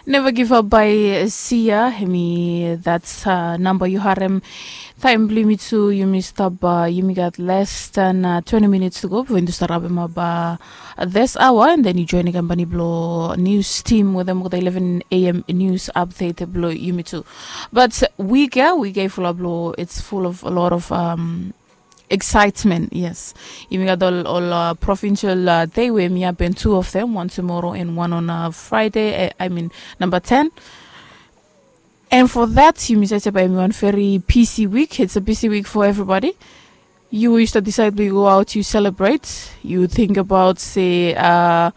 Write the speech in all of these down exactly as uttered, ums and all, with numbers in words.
Neva givap bae sia, hemi dats namba yu harem. Taem blong yumi tu yumi stap, yumi gat les dan twenti minits tu go bifo yumi tu stap rabemap. Des aoa an den yu joenem kampani blong nius tim wetem olgeta eleven a.m. nius apdet blong yumi tu. Bat wik ya wik ya i fulap long its full of a lot of excitement. Yes, yumi gat ol ol provincial dei we mi hapen tu of them, wan tumoro and wan on friday, I mean number ten. And for that yumi save se bae yumi wan very busy week. It's a busy week for everybody. Yu we yu stap decide blong yu go out yu celebrate, yu think about se uh,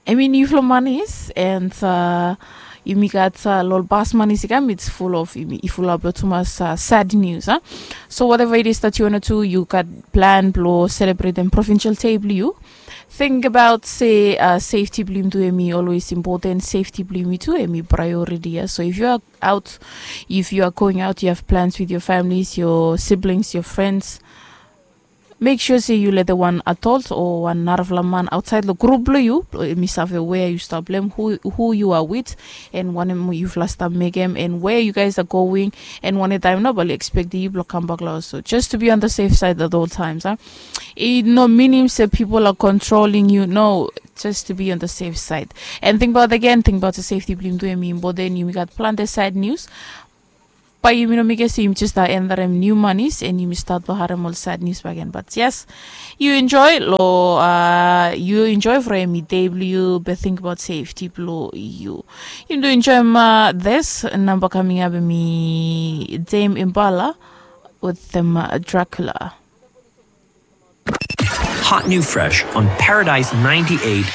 I mean yufala manis and uh, yumi gat uh, lol bas manis i kam it's full of yumi i fulap long tumas uh, sad news uh. So whatever it is that you wanna do, you gat plan blong celebrate and provincial day blong yu. Think about se uh, safety blong yumi tu emi always important. Safety blong yumi tu emi priority uh. So if you are out, if you are going out, you have plans with your families, your siblings, your friends, make sure se yu lete wan adult o wan narafala man aotsaed long grup blong yu blong yumi save wea yu stap long em, hu yu are wit, and wanem yufala stap mekem and wea yu guys are going, and wanem taem nao bae oli ekspektem yu blong kambak long haos. So just to be on the safe side at all times a. I no minim se pipol are controlling yu, no. Just to be on the safe side. And tingbaot agen, tingbaot se safety blong yumi tu emi impoten. Yumi gat plante sad news. Bae yumi no mekem se yumi jes stap endarem niu manis and yumi stat blong harem ol sad nius bakegen. Bat yes, yu enjoe long uh, yu enjoe from hemi dei blong yu be tingbaot safety blong yu. Yumi tu enjoem uh, this namba kaming ap hemi dame imbala wetem uh, dracula. Hot new fresh on Paradise ninety-eight